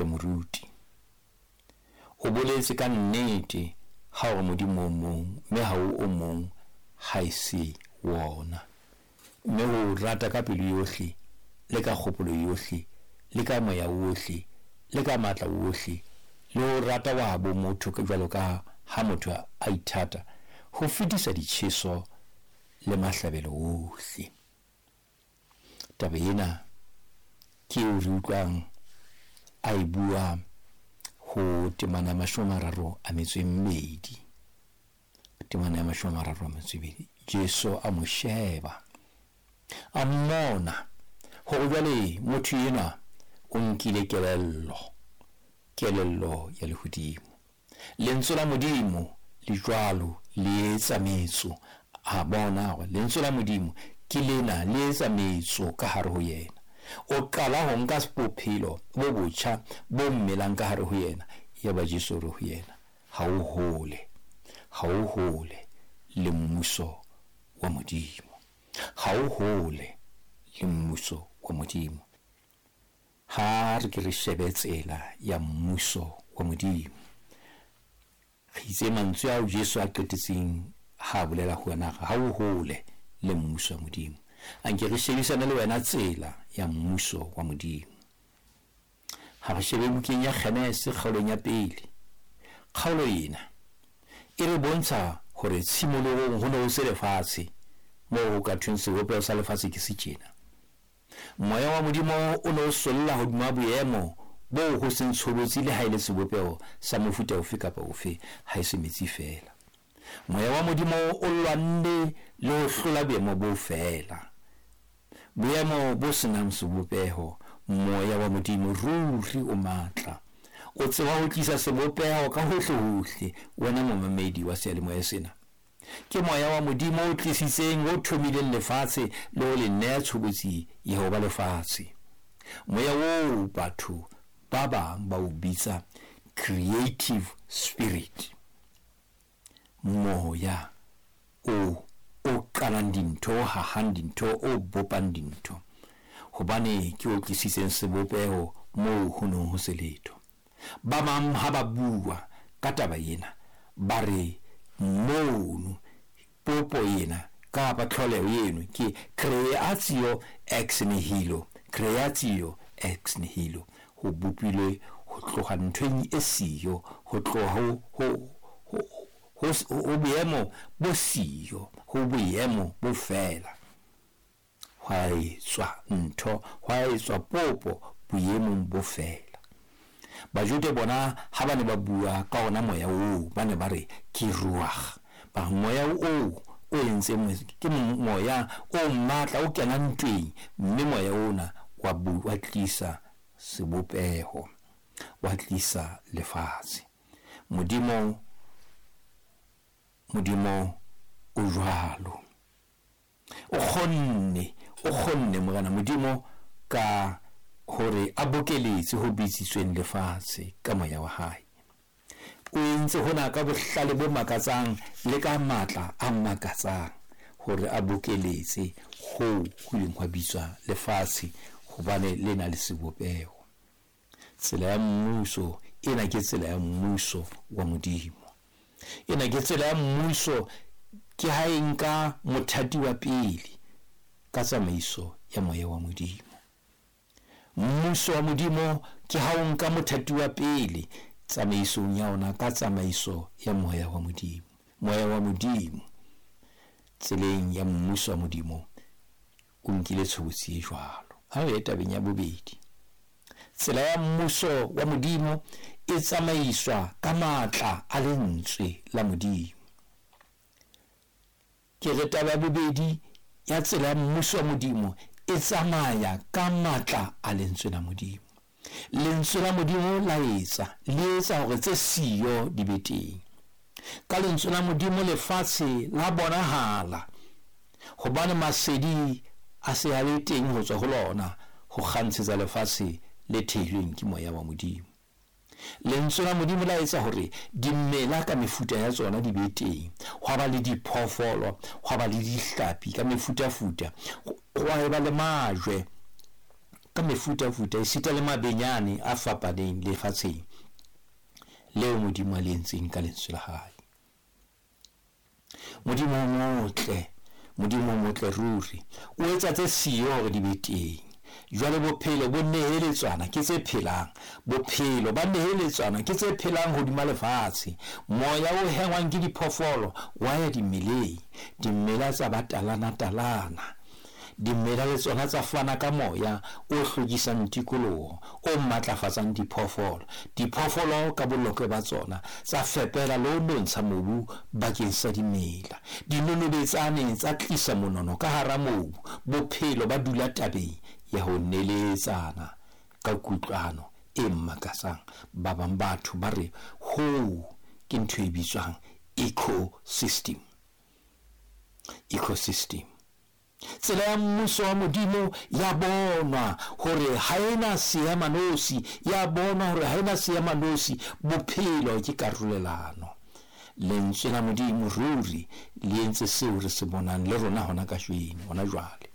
Moruti. O boletse ka nnete ha o re Modimo o mong, mme ha o o mong haese wona. Mme ho o rata ka pelo yohle, le ka kgopolo yohle, le ka moya wohle, le ka matla wohle, le ho rata wa habo motho jwalo ka ha motho a ithata, ho fetisa ditjheso le mahlabelo wohle. Taba ena ke eo re utlwang a e bua ho temana ya 32. Temana ya 32. Jesu a mo sheba, a mmona hore jwale motho enwa o nkile kelello, kelello ya lehodimo. Lentswe la Modimo le jwalo le etsa metso. A bona hore lentswe la Modimo ke lena le etsa metso ka hare ho yena. O qala ho nka bophelo bo botjha bo mmelang ka hare ho yena. Yaba Jesu o re ho yena, ha o hole, ha o hole le mmuso wa Modimo. Ha o hole le mmuso wa Modimo. Ha re ke re shebe tsela ya mmuso wa Modimo. Re itse mantswe ao Jesu a qetetseng ha a bolela ho wena, ha o hole le mmuso wa Modimo. A nke re shebisane le wena tsela ya mmuso wa Modimo. Ha re shebe bukeng ya Genese kgaolong ya pele. Kgaolo ena e re bontsha hore tshimolohong ho ne ho se lefatshe, moo ho ka thweng sebopeho sa lefatshe ke se tjena. Moya wa Modimo o ne o solla hodima boemo boo ho seng tshobotsi le ha e le sebopeho sa mofuta ofe kapa ofe, ha e se metsi feela. Moya wa Modimo o lwanne le ho hlola boemo bo feela, boemo bo senang sebopeho. Moya wa Modimo ruri o matla, o tseba ho tlisa sebopeho ka hohle hohle. Wena momamedi wa seyalemoya sena, ke moya wa Modimo o tlisitseng, o thomileng lefatshe le ho le neha tshobotsi ya ho ba lefatshe. Moya oo batho ba bang ba o bitsa creative spirit, moya o o qalang dintho, o hahang dintho, o bopang dintho, hobane ke o tlisitseng sebopeho moo ho neng ho se letho. Ba bang ha ba bua ka taba ena ba re mono popo ena kapa tlholeho eno ke creatio ex nihilo, creatio ex nihilo, ho bopilwe ho tloha nthong e siyo, ho tloha ho boemo bo siyo, ho boemo bo fela. Hwa etswa ntho, hwa etswa popo boemong bo fela. Bajude bona ha ba ne ba bua ka ona moya oo, ba ne ba re ke ruach. Ba moya oo o entseng ke moya o matla o kenang ntweng, mme moya ona wa tlisa sebopeho, wa tlisa lefatshe. Modimo o jwalo. O kgonne Morena Modimo ka hore a bokeletse ho bitsitsweng lefatshe ka moya wa hae. O entse hona ka bohlale bo makatsang le ka matla a makatsang hore a bokeletse ho ileng hwa bitswa lefatshe, hobane le na le sebopeho. Tsela ya mmuso ena ke tsela ya mmuso wa Modimo. Ena ke tsela ya mmuso, ke ha e nka mothati wa pele ka tsamaiso ya moya wa Modimo. Mmuso wa Modimo ke ha o nka mothati wa pele tsamaisong ya ona ka tsamaiso ya moya wa Modimo. Moya wa Modimo tseleng ya mmuso wa Modimo o nkile tshobotsi e jwalo. Ha re ye tabeng ya bobedi. Tsela ya mmuso wa Modimo e tsamaiswa ka matla a lentswe la Modimo. Ke re taba ya bobedi ya tsela ya mmuso wa Modimo e tsamaya ka matla a lentswe la Modimo. Lentswe la Modimo la etsa, le etsa hore tse siyo di be teng. Ka lentswe la Modimo lefatshe la bonahala, hobane masedi a se a le teng ho tswa ho lona ho kgantshetsa lefatshe le thehilweng ke moya wa Modimo. Lentswe la Modimo la etsa hore dimela ka mefuta ya tsona di be teng, hwa ba le diphoofolo, hwa ba le dihlapi ka mefutafuta, hwa eba le majwe. ka mefutafuta, esita le mabenyane a fapaneng lefatsheng leo Modimo a le entseng ka lentswe la hae. Modimo o motle, Modimo o motle ruri, o etsa tse siyo hore di be teng. Jwale bophelo bo neheletswana ke tse phelang, bophelo ba neheletswana ke tse phelang hodima lefatshe. Moya o hengwang ke diphoofolo wa ya dimeleng, dimela tsa ba talana-talana. Dimela le tsona tsa fana ka moya o hlwekisang tikoloho, o matlafatsang diphoofolo. Diphoofolo ka bolokwe ba tsona tsa fepela le ho nontsha mobu bakeng sa dimela. Dinonobetsane tsa tlisa monono ka hara mobu. Bophelo ba dula tabeng ya ho neletsana ka kutlwano e makatsang. Ba bang batho ba re hoo ke ntho e bitswang ecosystem. Ecosystem. Tsela ya mmuso wa Modimo ya bonwa hore ha ena seemanosi, ya bonwa hore ha ena seemanosi. Bophelo ke karolelano. Lentswe la Modimo ruri le entse seo re se bonang le rona hona kajeno, hona jwale.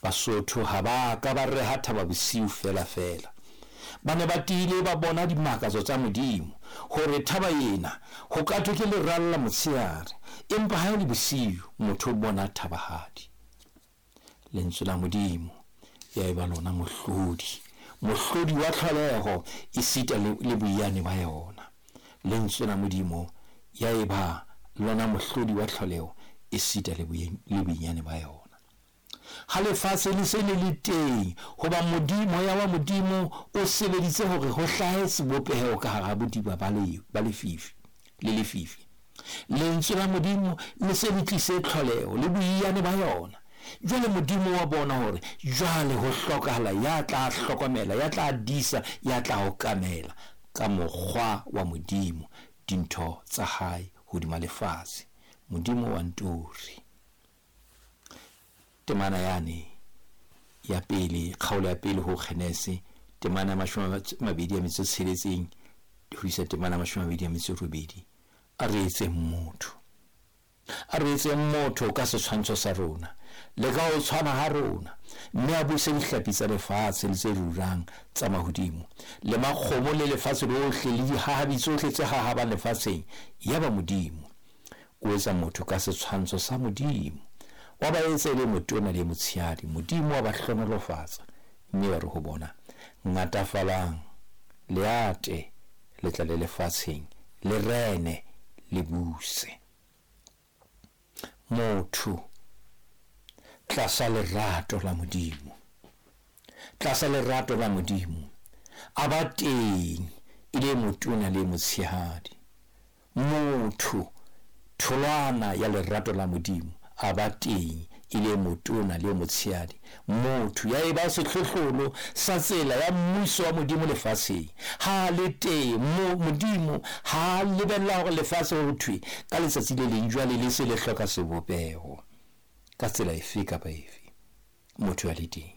Basotho ha ba ka ba reha Thaba Bosiu fela fela. Ba ne ba tiile ba bona dimakatso tsa Modimo, hore thaba ena ho ka thwe ke leralla motshehare, empa ha e le bosiu motho o bona thabahadi. Lentswe la Modimo ya eba lona mohlodi, mohlodi wa tlholeho esita le boiyane ba yona. Lentswe la Modimo ya eba lona mohlodi wa tlholeho esita le boiyane ba yona. Ha lefatshe le se le le teng, hoba Modimo, moya wa Modimo o sebeditse hore ho hlahe sebopeho ka hara bodiba ba lefifi le lefifi. Lentswe la Modimo le se le tlise tlholeho le boiyane ba yona. Jwale Modimo wa bona hore jwale ho hlokahala ya tla hlokomela, ya tla disa, ya tla okamela ka mokgwa wa Modimo dintho tsa hae hodima lefatshe. Modimo wa ntori. Temana yane ya pele, kgaolo ya pele ho Genese, temana ya 26 ho isa temana ya 28. A re etseng motho, a re etseng motho ka setshwantsho sa rona le ka ho tshwana ha rona, mme a buse dihlapi tsa lefatshe le tse rurang tsa mahodimo le makgomo le lefatshe lohle le dihahabi tsohle tse hahabang lefatsheng. Yaba Modimo o etsa motho ka setshwantsho sa Modimo, wa ba etsa e le motona le motshehadi. Modimo wa ba hlohonolofatsa, mme wa re ho bona, ngatafalang, le ate, le tlale lefatsheng, le rene, le buse. Motho tlasa lerato la Modimo, tlasa lerato la Modimo a ba teng e le motona le motshehadi. Motho tholwana ya lerato la Modimo a ba teng e le motona le motshehadi. Motho ya eba sehlohlolo sa tsela ya mmuso wa Modimo lefatsheng. Ha le teng Modimo ha lebella hore lefatshe ho thwe ka letsatsi le leng jwale le se le hloka sebopeho ka tsela efe kapa efe. Motho ya le teng,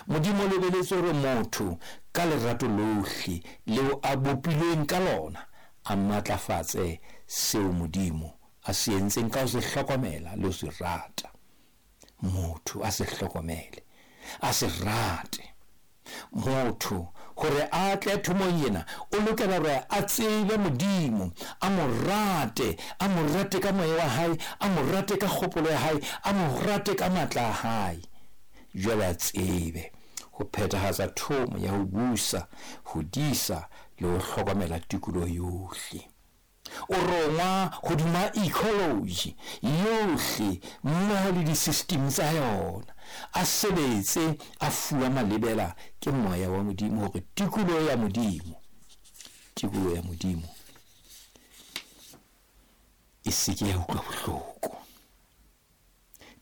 Modimo o lebeletse hore motho ka lerato lohle leo a bopilweng ka lona a matlafatse seo Modimo a se entseng ka ho se hlokomela le ho se rata. Motho a se hlokomele, a se rate. Motho hore a tle thomong ena o lokela hore a tsebe Modimo, a mo rate, a mo rate ka moya wa hae, a mo rate ka kgopolo ya hae, a mo rate ka matla a hae. Jwale a tsebe ho phethahatsa thomo ya ho busa, ho disa le ho hlokomela tikoloho yohle. O rongwa hodima ecology yohle mmoho le di-system tsa yona. A sebetse a fuwa malebela ke moya wa Modimo hore tikoloho ya Modimo, tikoloho ya Modimo e se ke ya utlwa bohloko.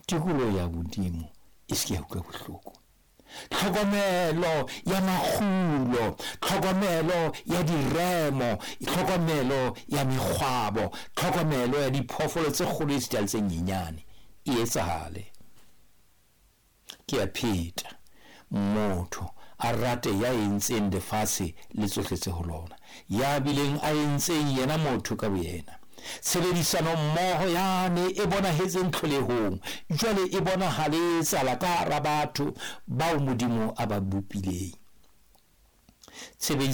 Tikoloho ya Modimo e se ke ya utlwa bohloko. Tlhokomelo ya makgulo, tlhokomelo ya diremo, tlhokomelo ya mekgwabo, tlhokomelo ya diphoofolo tse kgolo esita le tse nyenyane e etsahale. Ke a pheta, motho a rate ya entseng lefatshe le tsohle tse ho lona, ya bileng a entseng yena motho ka boyena. Tshebedisano mmoho yane e bonahetseng tlholehong jwale e bonahale e etsahala ka hara batho bao Modimo a ba bopileng. Tshebedisano.